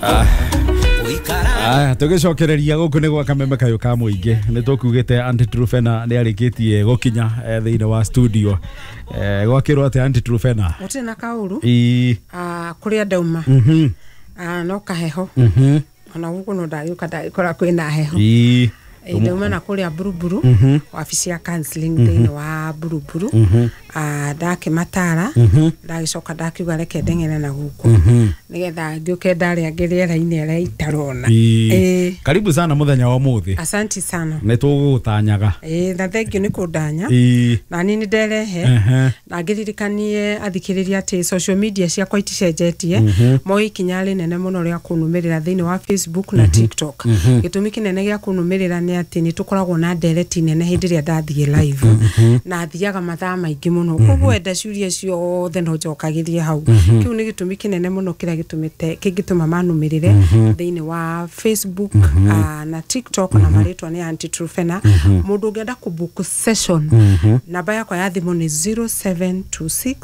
Aya, tũgĩcokereria gũkũ nĩ gwa Kameme kayũ ka mũingĩ. Nĩ tũkugĩte Aunty Truphena nĩ arĩkĩtie gũkinya thĩinĩ wa studio. Gwakĩrwo atĩ Aunty Truphena? Gũtirĩ na kaũru. Ii. Kũrĩa ndauma, no kaheho. Ona gũkũ no ndagĩũka ndagĩkora kwĩna heho. Ndauma na kũrĩa Buruburu, wabici ya counseling thĩinĩ wa Buruburu. Ndakĩmatara, ndagĩcoka ndakiuga reke ndeng'ere na gũkũ nĩgetha ngĩũke ndarĩa rĩera-inĩ arĩa itarona. Ii. Karibu sana mũthenya wa ũmũthĩ. Asanti sana. Nĩ tũgũgũtanyaga. Ĩĩ, na thengiũ nĩ kũndanya. Na niĩ nĩ nderehe na ngĩririkanie athikĩrĩria atĩ social media ciakwa iticenjetie. Moe ikinya rĩnene mũno rĩa kũnũmĩrĩra thĩinĩ wa Facebook na TikTok. Gĩtũmi kĩnene gĩa kũnũmĩrĩra nĩ atĩ nĩ tũkoragwo na ndereti nene hĩndĩ ĩrĩa ndathiĩ live, na thiaga mathaa maingĩ mũno, koguo enda ciũria ciothe no njokagĩrie hau. Kĩu nĩ gĩtũmi kĩnene mũno kĩrĩa gĩtũmĩte kĩngĩtũma manũmĩrĩre thĩinĩ wa Facebook na TikTok, na marĩtwa nĩ Aunty Truphena. Mũndũ ũngĩenda kũbook session, namba yakwa ya thimũ nĩ 0726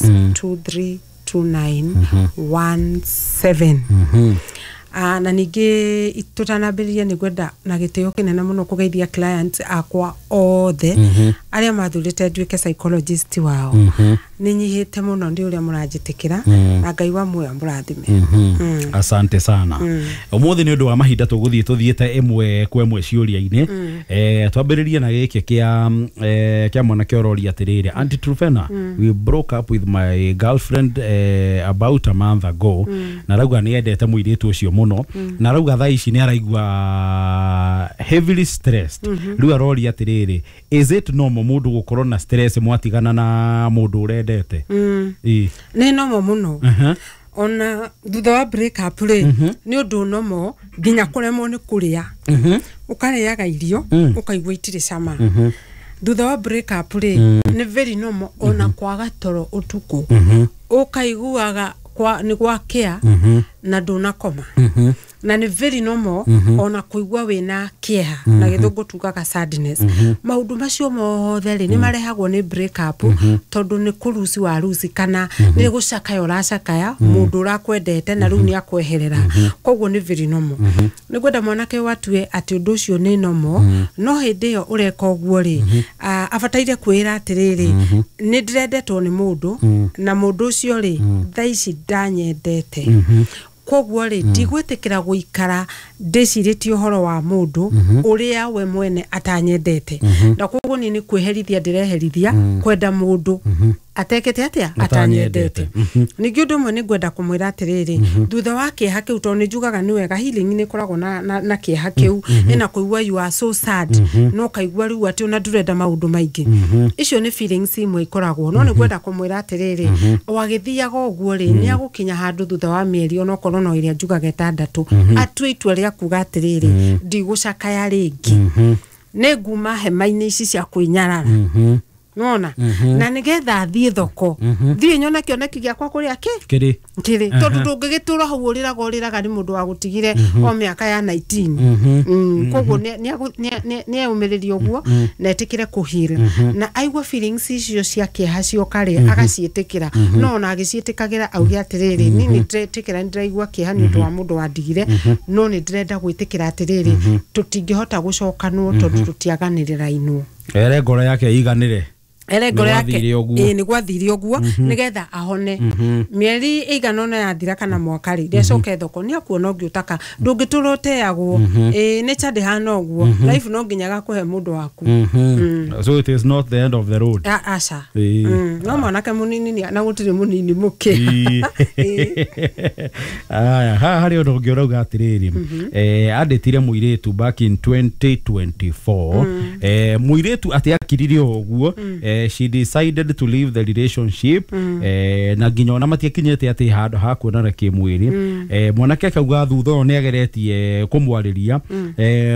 232917. Na ningĩ tũtanambĩrĩria, nĩ ngwenda na gĩtĩo kĩnene mũno kũgeithia clients akwa othe arĩa mathurĩte nduĩke psychologist wao. Nĩ nyihĩte mũno nĩ ũrĩa mũranjĩtĩkĩra, na Ngai wa muoyo amũrathime. Asante sana. Ũmũthĩ nĩ ũndũ wa mahinda tũgũthiĩ tũthiĩte ĩmwe kwa ĩmwe ciũria-inĩ. Twambĩrĩrie na gĩkĩ kĩa mwanake ũroria atĩrĩrĩ, "Aunty Truphena, we broke up with my girlfriend about a month ago." Na arauga nĩ endete mũirĩtu ũcio mũno, na arauga thaa ici nĩ araigua heavily stressed. Rĩu aroria atĩrĩrĩ, is it normal mũndũ gũkorwo na stress mwatigana na mũndũ ũrendete? Ĩĩ. Nĩ normal mũno. Ona thutha wa break up rĩ, nĩ ũndũ normal nginya kũremwo nĩ kũrĩa. Ũkarĩaga irio ũkaigua itirĩ cama. Thutha wa break up rĩ, nĩ very normal ona kwaga toro ũtukũ, ũkaiguaga nĩ gwakĩa na ndũnakoma. Na nĩ very normal ona kũigua wĩna kĩeha, na gĩthũngũ tugaga sadness. Maũndũ macio mothe rĩ, nĩ marehagwo nĩ break up, tondũ nĩ kũruci wa ruci kana nĩ gũcakaya ũracakaya mũndũ ũrakwendete na rĩu nĩ akweherera. Koguo nĩ very normal. Nĩ ngwenda mwanake ũyũ atue atĩ ũndũ ũcio nĩ normal, no hĩndĩ ĩyo ũreka ũguo rĩ, abataire kwĩra atĩrĩrĩ, nĩ ndĩrendetwo nĩ mũndũ, na mũndũ ũcio rĩ, thaa ici ndanyendete, koguo rĩ, ndigwĩtĩkĩra gũikara ndĩcirĩtie ũhoro wa mũndũ ũrĩa we mwene atanyendete. Na koguo niĩ nĩ kwĩherithia ndĩreherithia kwenda mũndũ atekĩte atĩa? Atanyendete. Atanyendete. Ningĩ ũndũ ũmwe nĩ ngwenda kũmwĩra atĩrĩrĩ, thutha wa kĩeha kĩu, tondũ nĩ njugaga nĩ wega healing nĩ ĩkoragwo na kĩeha kĩu, ĩna kũigua you are so sad, no ũkaigua rĩu atĩ ona ndũrenda maũndũ maingĩ. Icio nĩ feelings imwe ikoragwo, no nĩ ngwenda kũmwĩra atĩrĩrĩ, o agĩthiaga ũguo rĩ, nĩ agũkinya handũ thutha wa mĩeri onokorwo no ĩrĩa njugaga 6, atue itua rĩa kuga atĩrĩrĩ, ndigũcakaya rĩngĩ, nĩ nguma hema-inĩ ici cia kwĩnyarara nona, na nĩgetha thiĩ thoko, thiĩ nyone kĩoneki gĩakwa kũrĩa kĩ Kĩrĩ. Kĩrĩ, tondũ ndũngĩgĩtũra hau ũrĩraga ũrĩraga nĩ mũndũ wagũtigire o mĩaka ya 19. Koguo nĩ eyũmĩrĩrie ũguo na etĩkĩre kũheal, na aigua feelings icio cia kĩeha cioka rĩ, agaciĩtĩkĩra, no ona agĩciĩtĩkagĩra auge atĩrĩrĩ, niĩ nĩ ndĩretĩkĩra nĩ ndĩraigua kĩeha nĩ ũndũ wa mũndũ wandigire, no nĩ ndĩrenda gwĩtĩkĩra atĩrĩrĩ, tũtingĩhota gũcokanwo tondũ tũtiaganĩrĩrainwo. Ere ngoro yake ĩiganĩre. Ere ngoro yake. Nĩgwathire ũguo. Ĩĩ, nĩ gwathire ũguo nĩgetha ahone. Mĩeri ĩigana ũna yathira kana mwaka rĩ, nĩacoke thoko, nĩ akuona ũngĩ ũtaka. Ndũngĩtũra ũteagwo. Ĩĩ, nĩ cha ndĩhana ũguo, life no nginya gakũhe mũndũ waku. So it is not the end of the road. Aca. Ĩĩ. No mwanake mũnini na gũtirĩ mũnini mũkĩ. Ĩĩ. Aya, haha harĩ ũndũ ũngĩ ũrauga atĩrĩrĩ, andĩtire mũirĩtu back in 2024. Mũirĩtu atĩ akirire o ũguo, she decided to leave the relationship, na nginya ona matiakinyĩte atĩ handũ ha kuonana kĩmwĩrĩ. Mwanake akauga thutha ũyũ nĩ ageretie kũmwarĩria,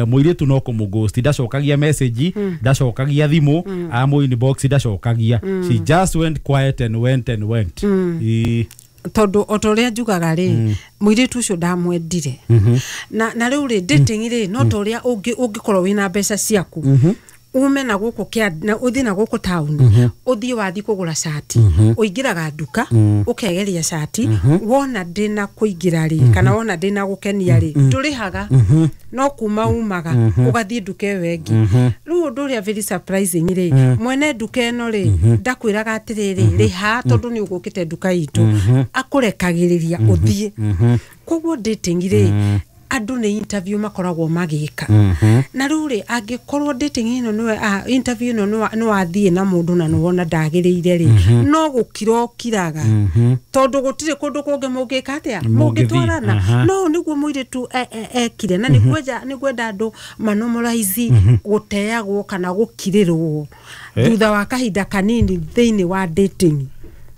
mũirĩtu no kũmũghost, ndacokagia message, ndacokagia thimũ, amũ inbox ndacokagia. She just went quiet and went and went. Ĩĩ. Tondũ o ta ũrĩa njugaga rĩ, mũirĩtu ũcio ndamwendire. Na rĩu rĩ, dating rĩ, no ta ũrĩa ũngĩkorwo wĩna mbeca ciaku. Ume na gũkũ kĩa na ũthiĩ na gũkũ taũni, ũthiĩ wathiĩ kũgũra cati, ũingĩraga nduka ũkegeria cati, wona ndĩna kũingĩra rĩ, kana wona ndĩna gũkenia rĩ, ndũrĩhaga, no kuma umaga ũgathiĩ nduka ĩyo ĩngĩ. Rĩu ũndũ ũrĩa very surprising rĩ, mwene nduka ĩno rĩ, ndakwĩraga atĩrĩrĩ, rĩha tondũ nĩ ũgũkĩte nduka itũ, akũrekagĩrĩria ũthiĩ. Koguo dating rĩ, andũ nĩ interview makoragwo magĩka. Na rĩu rĩ, angĩkorwo dating ĩno nĩwe, interview ĩno nĩ wathiĩ na mũndũ na nĩwona ndagĩrĩire rĩ, no gũkira ũkiraga, tondũ gũtirĩ kũndũ kũngĩ mũngĩka atĩa, Mũngĩthiĩ. Mũngĩtwarana. No nĩguo mũirĩtu ekire, na nĩngwenda andũ manormalize gũteagwo kana gũkirĩrwo thutha wa kahinda kanini thĩinĩ wa dating.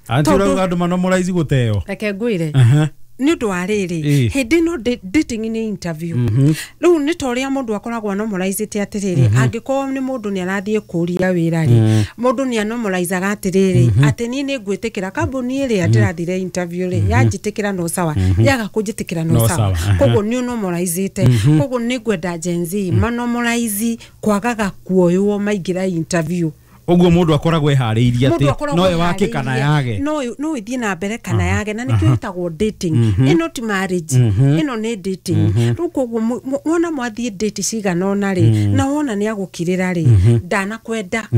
Anti, Tondũ- ũrauga andũ manormalize gũteo? Reke ngwĩre. Nĩ ũndũ wa rĩrĩ, hĩndĩ ĩno dating nĩ interview. Rĩu nĩ ta ũrĩa mũndũ akoragwo anormalizĩte atĩrĩrĩ, angĩkorwo nĩ mũndũ nĩ arathiĩ kũria wĩra rĩ, mũndũ nĩ anormalizaga atĩrĩrĩ, atĩ niĩ nĩ ngwĩtĩkĩra kambuni ĩrĩa ndĩrathire interview rĩ, yanjĩtĩkĩra no sawa, yaga kũnjĩtĩkĩra no No sawa. sawa, aha. Koguo nĩ ũnormalizĩte. Koguo nĩ ngwenda Gen Z manormalize kwagaga kuoywo maingĩra interview. Ũguo mũndũ akoragwo eharĩirie Mũndũ atĩ akoragwo no ĩwake kana eharĩirie. yage. No ĩthiĩ na mbere kana yage, na nĩkĩo ĩtagwo dating. Ĩno ti marriage, ĩno nĩ dating. Rĩu koguo wona mwathiĩ date cigana ũna rĩ, na wona nĩ agũkirĩra rĩ, ndanakwenda,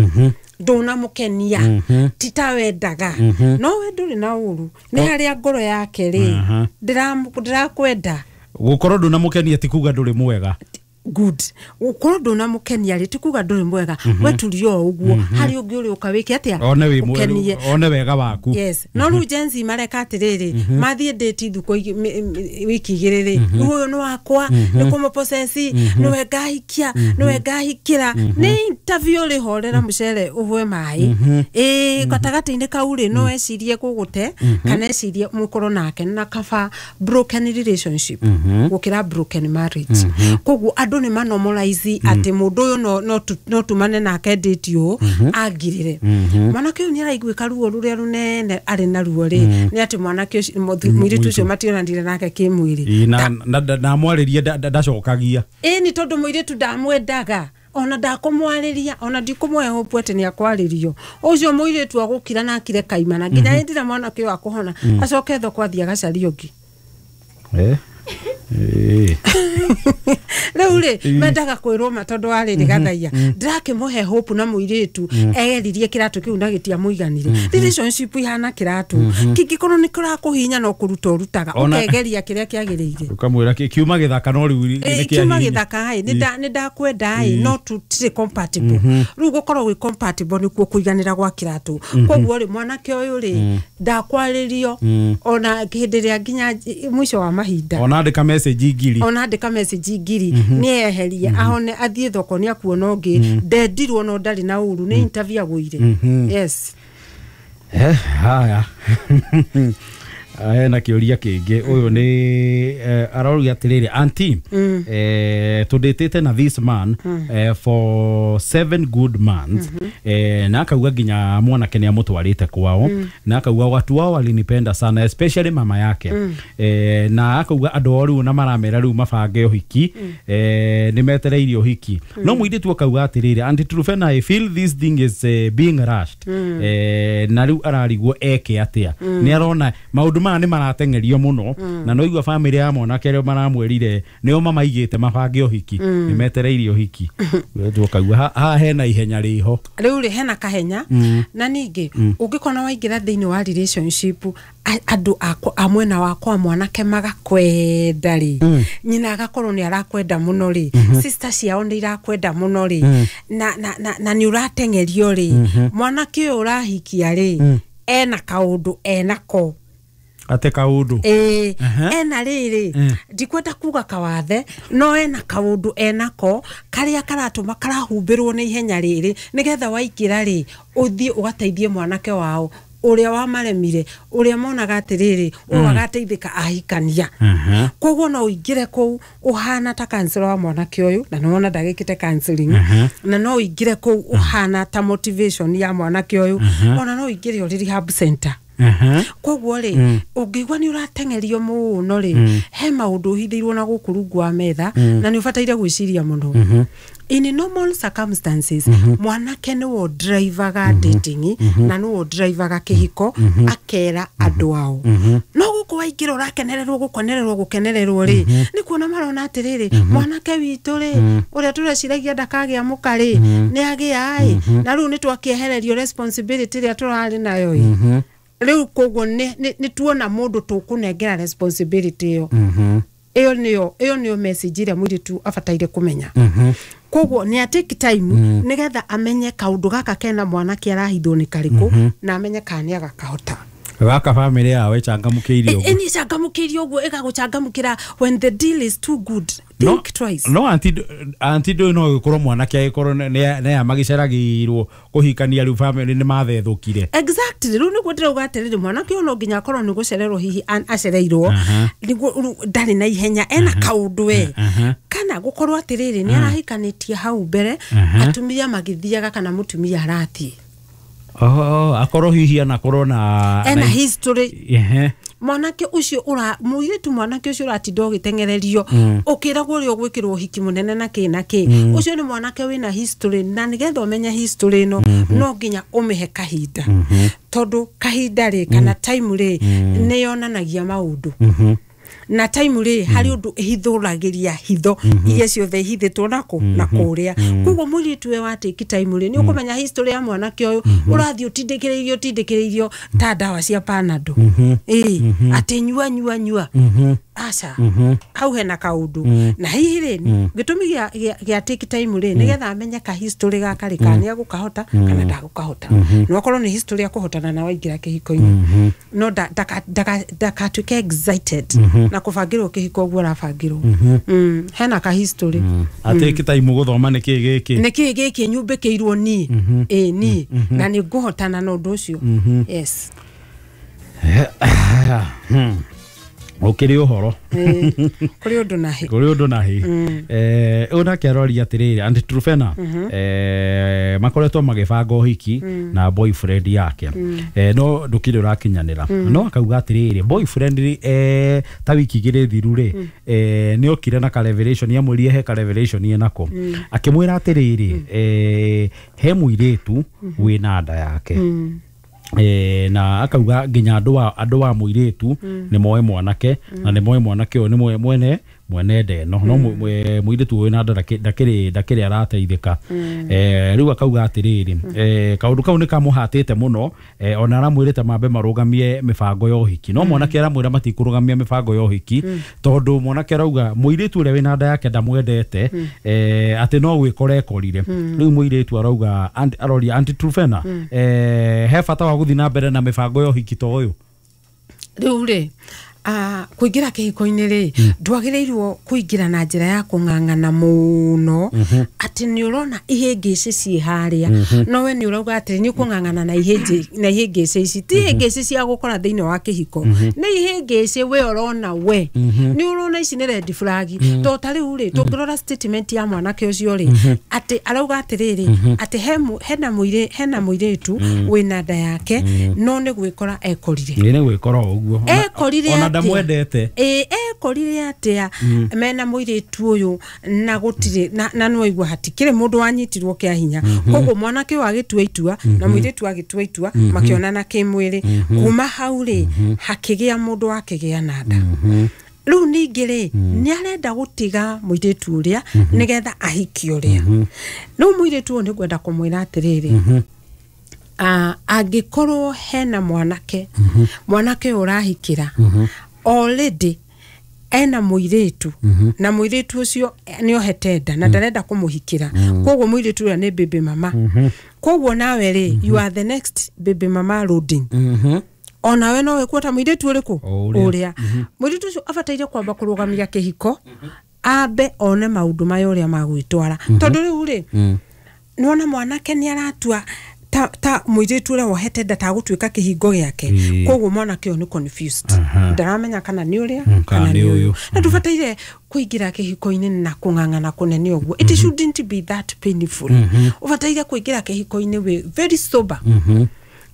ndũnamũkenia, ti ta wendaga, no we ndũrĩ na ũru, nĩ harĩa ngoro yake rĩ, ndĩrakwenda. Gũkorwo ndũnamũkenia ti kuga ndũrĩ mwega. Good, gũkorwo ndũnamũkenia rĩ, ti kuga ndũrĩ mwega. We turio o ũguo, harĩ ũngĩ ũrĩ ũka wĩke atĩa? One wĩ Ũkenie. One wega waku. Yes, no rĩu Gen Z mareka atĩrĩrĩ, mathiĩ date thukũ wiki 2 rĩ, rĩu ũyũ nĩ wakwa, nĩ kũmũpossess, nĩwe ngahikia, nĩwe ngahikĩra. Nĩ interview rĩ, horera mũcere ũhwe maĩ. Ĩĩ, gatagatĩ-inĩ kau rĩ, no ecirie gũgũte kana ecirie mũkorwo nake, na kaba broken relationship gũkĩra broken marriage. Koguo andũ nĩ manormalize atĩ mũndũ ũyũ no tumane nake date ũũ angirĩre. Mwanake ũyũ nĩ araiguĩka ruo rũrĩa rũnene arĩ naruo rĩ, nĩ atĩ mwanake ũcio, mũirĩtu ũcio mationanire nake kĩmwĩrĩ. Ĩ, na mwarĩrie ndacokagia. Ĩ, nĩ tondũ mũirĩtu ndamwendaga, ona ndakũmwarĩria, ona ndikũmũhe hope atĩ nĩ akwarĩrio. Ũcio mũirĩtu agũkira na akire kaimana nginya hĩndĩ ĩrĩa mwanake ũyũ akũhona, acoke thoko athiĩ agacarie ũngĩ. Rĩu rĩ, mendaga kwĩrwo ma tondũ wa rĩrĩ, gathaia ndĩrakĩmũhe hope, na mũirĩtu egeririe kĩratũ kĩu na gĩtiamũiganire. Relationship ihana kĩratũ, kĩngĩkorwo nĩ kĩrakũhinya, no kũruta ũrutaga, ũkegeria kĩrĩa kĩagĩrĩire. Ũkamwĩra kiuma gĩthaka, no rĩu nĩ Kiuma kĩahihinya. Gĩthaka ĩ, nĩ ndakwenda ĩ, no tũtirĩ compatible. Rĩu gũkorwo wĩ compatible nĩkuo kũiganĩra gwa kĩratũ. Koguo rĩ, mwanake ũyũ rĩ, ndakwarĩrio ona hĩndĩ ĩrĩa nginya mũico wa mahinda. Ona andĩka message 1000. Ona andĩka message 1000, nĩ eherie, ahone, athiĩ thoko, nĩ akuona ũngĩ. Ndendirwo, no ndarĩ na ũru, nĩ interview agũire. Yes. Haya, hena kĩũria kĩngĩ. Ũyũ nĩ arauga atĩrĩrĩ, "Aunty, tũndĩtĩte na this man for 7 good months," na akauga nginya mwanake nĩ amũtwarĩte kwao, na akauga watu wao walinipenda sana, especially mama yake, na akauga andũ ao rĩu na maramera rĩu mabange ũhiki, nĩ metereire ũhiki. No mũirĩtu akauga atĩrĩrĩ, "Aunty Trufena, I feel this thing is being rushed," na rĩu ararigwo eke atĩa. Nĩ arona maũndũ maya nĩ marateng'erio mũno, na no igua famĩlĩ ya mwanake rĩo maramwĩrire nĩo mamaigĩte mabange ũhiki, nĩ metereire ũhiki. Mũirĩtu akauga haha hena ihenya rĩho. Rĩu rĩ, hena kahenya. Na ningĩ ũngĩkona waingĩra thĩinĩ wa relationship, andũ a mwena wakwa mwanake magakwenda rĩ, nyina agakorwo nĩ arakwenda mũno rĩ, sister ciao nĩ irakwenda mũno rĩ, na nĩ ũrateng'erio rĩ, mwanake ũyũ ũrahikia rĩ, ena kaũndũ enako. Ate kaũndũ? Ĩĩ. Ena rĩrĩ, ndikwenda kuga kawathe, no ena kaũndũ enako karĩa karatũma karahumbĩrwo nĩ ihenya rĩrĩ, nĩgetha waingĩra rĩ, ũthiĩ ũgateithie mwanake wao ũrĩa wamaremire, ũrĩa monaga atĩrĩrĩ, ũyũ agateithĩka ahikania. Koguo no ũingĩre kũu ũhana ta counselor wa mwanake ũyũ, na nĩwona ndagĩkĩte counseling, na no ũingĩre kũu ũhana ta motivation ya mwanake ũyũ, ona no ũingĩre ũrĩ rehab center. Koguo rĩ, ũngĩigua nĩ ũrateng'erio mũno rĩ, he maũndũ ũhithĩirwo na gũkũ rungu wa metha, na nĩ ũbataire gwĩciria mũno. In normal circumstances, mwanake nĩwe ũdrivaga dating na nĩwe ũdrivaga kĩhiko, akera andũ ao. No gũkũ waingĩra ũrakenererwo gũkenererwo gũkenererwo rĩ, nĩ kuona marona atĩrĩrĩ, mwanake witũ rĩ, ũrĩa tũreciragia ndakagĩa mũka rĩ, nĩ agĩa ĩ, na rĩu nĩ twakĩehererio responsibility ĩrĩa tũrarĩ nayo ĩ. Rĩu koguo nĩ tuona mũndũ tũkũnengera responsibility ĩyo. Ĩyo nĩyo message ĩrĩa mũirĩtu abataire kũmenya. Koguo nĩ atake time nĩgetha amenye kaũndũ gaka kena mwanake arahithwo nĩ karĩkũ, na amenye kana nĩ agakahota. Gaka family yao ĩcangamũkĩire ũguo. Ĩni ĩcangamũkĩire ũguo, ĩgagũcangamũkĩra. When the deal is too good, think twice. No anti ndũĩ no gĩkorwo mwanake agĩkorwo nĩ magĩceragĩirwo kũhikania, rĩu family nĩ mathethũkire. Exactly, rĩu nĩguo ndĩrauga atĩrĩrĩ, mwanake ũyũ no nginya akorwo nĩ gũcererwo hihi acereirwo, nĩguo rĩu ndarĩ na ihenya, ena kaũndũ we, kana gũkorwo atĩrĩrĩ, nĩ arahikanĩtie hau mbere, atumia magĩthiaga kana mũtumia arathiĩ. Oh, akorwo hihi anakorwo na ena history. Mwanake ũcio ũra mũirĩtu, mwanake ũcio ũratinda ũgĩteng'ererio ũkĩragwo ũrĩa ũgwĩkĩrwo ũhiki mũnene na kĩ na kĩ, ũcio nĩ mwanake wĩna history, na nĩgetha ũmenye history ĩno no nginya ũmĩhe kahinda, tondũ kahinda rĩ, kana time rĩ, nĩ yonanagia maũndũ, na time rĩ, harĩ ũndũ ĩhithũragĩria hitho iria ciothe ihithĩtwo nakũ na kũrĩa. Koguo mũirĩtu we wa take time rĩ, nĩ ũkũmenya history ya mwanake ũyũ ũrathiĩ ũtindĩkĩrĩirio ũtindĩkĩrĩirio ta ndawa cia Panado, ĩĩ, atĩ nyua nyua nyua, aca, hau hena kaũndũ. Na hihi rĩ, gĩtũmi gĩa take time rĩ, nĩgetha amenye ka history gaka rĩ, kana nĩ agũkahota kana ndagũkahota. No akorwo nĩ history ya kũhotana na waingĩra kĩhiko-inĩ, no ndakatuĩke excited na kũbangĩrwo kĩhiko ũguo arabangĩrwo. Hena ka history. Atake time gũthoma nĩ kĩ gĩkĩ. Nĩ kĩ gĩkĩ nyumbĩkĩirwo niĩ, ĩĩ niĩ, na nĩ ngũhotana na ũndũ ũcio. Yes. Ũkĩrĩ ũhoro. Kũrĩ ũndũ na hĩ. Kũrĩ ũndũ na hĩ. Ũyũ nake aroria atĩrĩrĩ, Aunty Truphena, makoretwo magĩbanga ũhiki na boyfriend yake, no ndũkĩrĩ ũrakinyanĩra. No akauga atĩrĩrĩ, boyfriend rĩ, ta wiki igĩrĩ thiru rĩ, nĩ okire na ka revelation, amwĩrire he ka revelation enako, akĩmwĩra atĩrĩrĩ, he mũirĩtu wĩna nda yake. Na akauga nginya andũ a mũirĩtu nĩ moe mwanake, na nĩ moe mwanake ũyũ nĩ moe mwene nda ĩno, no mũirĩtu ũyũ na nda ndakĩrĩ arateithĩka. Rĩu akauga atĩrĩrĩ, kaũndũ kau nĩ kamũhatĩte mũno, ona aramwĩrĩte mambe marũgamie mĩbango ya ũhiki, no mwanake aramwĩra matikũrũgamia mĩbango ya ũhiki, tondũ mwanake arauga mũirĩtu ũrĩa wĩna nda yake ndamwendete, atĩ no gwĩkora ekorire. Rĩu mũirĩtu arauga, aroria Aunty Truphena, he bata wa gũthiĩ na mbere na mĩbango ya ũhiki ta ũyũ? Rĩu rĩ, kũingĩra kĩhiko-inĩ rĩ, ndwagĩrĩirwo kũingĩra na njĩra ya kũng'ang'ana mũno atĩ nĩ ũrona ihĩngĩcĩ ciĩ harĩa, no we nĩ ũrauga atĩ nĩ ũkũng'ang'ana na ihĩngĩcĩ ici. Ti ihĩngĩcĩ cia gũkora thĩinĩ wa kĩhiko, nĩ ihĩngĩcĩ we ũrona, we nĩ ũrona ici nĩ red flag. To ta rĩu rĩ, tũngĩrora statement ya mwanake ũcio rĩ, atĩ arauga atĩrĩrĩ, atĩ hena mũirĩtu wĩna nda yake, no nĩ gwĩkora ekorire. Nĩ gwĩkora ũguo. Ekorire ona ndamwendete. Ĩ, ekorire atĩa mena mũirĩtu ũyũ, na gũtirĩ na nĩwaigua hatikĩrĩ mũndũ wanyitirwo kĩa hinya. Koguo mwanake ũyũ agĩtua itua na mũirĩtu agĩtua itua, makĩonana kĩmwĩrĩ. Kuma hau rĩ, hakĩgĩa mũndũ wakĩgĩa na nda. Rĩu ningĩ rĩ, nĩ arenda gũtiga mũirĩtu ũrĩa nĩgetha ahikie ũrĩa. Rĩu mũirĩtu ũyũ nĩ ngwenda kũmwĩra atĩrĩrĩ, angĩkorwo hena mwanake, mwanake ũyũ ũrahikĩra already ena mũirĩtu, na mũirĩtu ũcio nĩ ohete nda na ndarenda kũmũhikĩra, koguo mũirĩtu ũrĩa nĩ baby mama. Koguo nawe rĩ, you are the next baby mama loading. Onawe no wĩkuo ta mũirĩtu ũrĩkũ ũrĩa. Mũirĩtu ũcio abataire kwamba kũrũgamia kĩhiko, ambe one maũndũ maya ũrĩa magwĩtwara, tondũ rĩu rĩ, nĩwona mwanake nĩ aratua ta mũirĩtu ũrĩa wohete nda tagũtuĩka kĩhingo gĩake. Koguo mwanake ũyũ nĩ confused, ndaramenya kana nĩ ũrĩa kana nĩ ũyũ. Na ndũbataire kũingĩra kĩhiko-inĩ na kũng'ang'ana kũnene ũguo. It shouldn't be that painful. Ũbataire kũingĩra kĩhiko-inĩ wĩ very sober.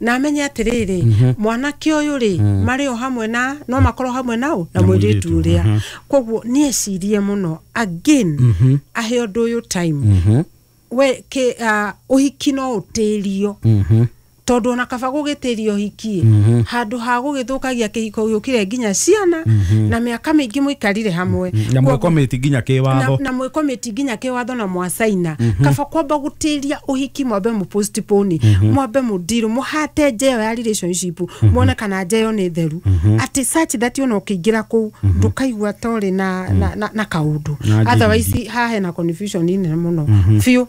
Na amenye atĩrĩrĩ, mwanake ũyũ rĩ, marĩ o hamwe na no makorwo hamwe nao na mũirĩtu ũrĩa. Koguo nĩ ecirie mũno again, ahe ũndũ ũyũ time. We ke ũhiki no ũtĩrio, tondũ ona kaba gũgĩtĩrio ũhiki handũ ha gũgĩthũkagia kĩhiko gĩũkire nginya ciana na mĩaka mĩingĩ mũikarire hamwe. Na mwĩkomĩti nginya kĩwatho. Na mwĩkomĩti nginya kĩwatho na mwacaina. Kaba kwamba gũtĩria ũhiki, mwambe mũ postpone, mwambe mũndirũ, mũhate njeyo ya relationship, muone kana njeyo nĩ theru, atĩ such that ona ũkĩingĩra kũu ndũkaigua ta ũrĩ na kaũndũ. Otherwise haha hena confusion nene mũno biũ.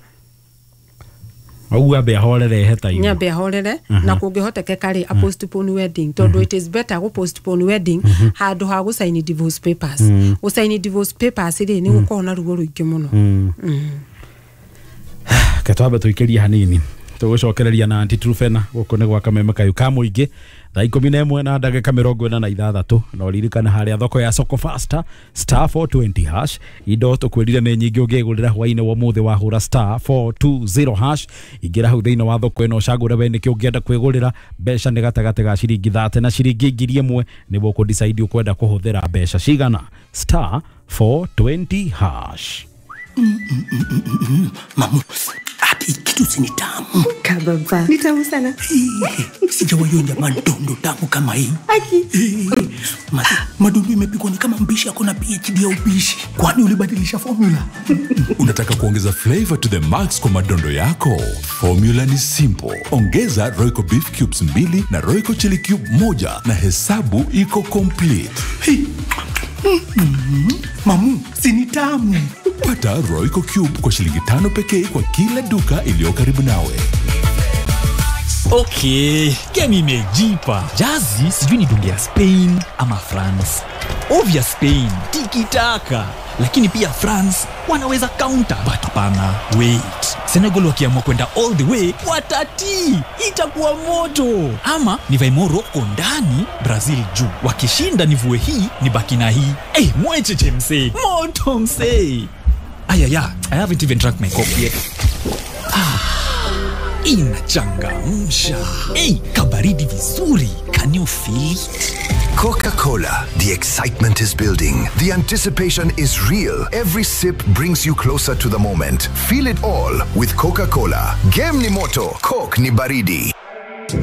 Ũguo ambe ahorere he time. Nyambe ahorere, na kũngĩhotekeka rĩ, a postpone wedding, tondũ it is better gũ postpone wedding handũ ha gũsaini divorce papers. Gũsaini divorce papers rĩ, nĩ gũkorwo na ruo rũingĩ mũno. Ke twambe tũikĩrie hanini, tũgũcokereria na Aunty Truphena gũkũ nĩ gwa Kameme Kayũ ka mũingĩ thaa 11 na ndagĩka 46. Na ũririkane harĩa thoko ya Soko Faster *420 hash, indo tũkwĩrire nĩ nyingĩ ũngĩgũrĩra hwainĩ wa ũmũthĩ wahũra *420 hash. Ingĩra hau thĩinĩ wa thoko ĩno, ũcagũre we nĩkĩ ũngĩenda kwĩgũrĩra. Mbeca nĩ gatagatĩ ga ciringi 30 na ciringi 1000, nĩguo ũkũ-decide ũkwenda kũhũthĩra mbeca cigana. *420 hash. Mamu, ati kitu si ni tamu. Kababa. Ni tamu sana. Sijawahi onja madondo tamu kama hii. Aki. Madondo imepikwa ni kama mpishi ako na PhD ya upishi. Kwani ulibadilisha formula? Unataka kuongeza flavor to the max kwa madondo yako? Formula ni simple. Ongeza Royco beef cubes 2 na Royco chili cube 1 na hesabu iko complete. Hey. Mamu, si ni tamu. Pata Royco Cube kwa shilingi 5 pekee kwa kila duka iliyo karibu nawe. Okay, game imejipa. Jazi sijui ni dunge ya Spain ama France. Obvious Spain, tiki-taka. Lakini pia France wanaweza counter. But hapana, wait. Senegal wakiamua kwenda all the way, watati. Itakuwa moto. Ama nivae Morocco ndani, Brazil juu. Wakishinda nivue hii, nibaki na hii. Eh, mwecheche msee. Moto msee. Ayaya, I haven't even drank my coffee yet. Inachangamsha. Hey, kabaridi vizuri. Can you feel it? Coca-Cola. The excitement is building. The anticipation is real. Every sip brings you closer to the moment. Feel it all with Coca-Cola. Game ni moto, Coke ni baridi.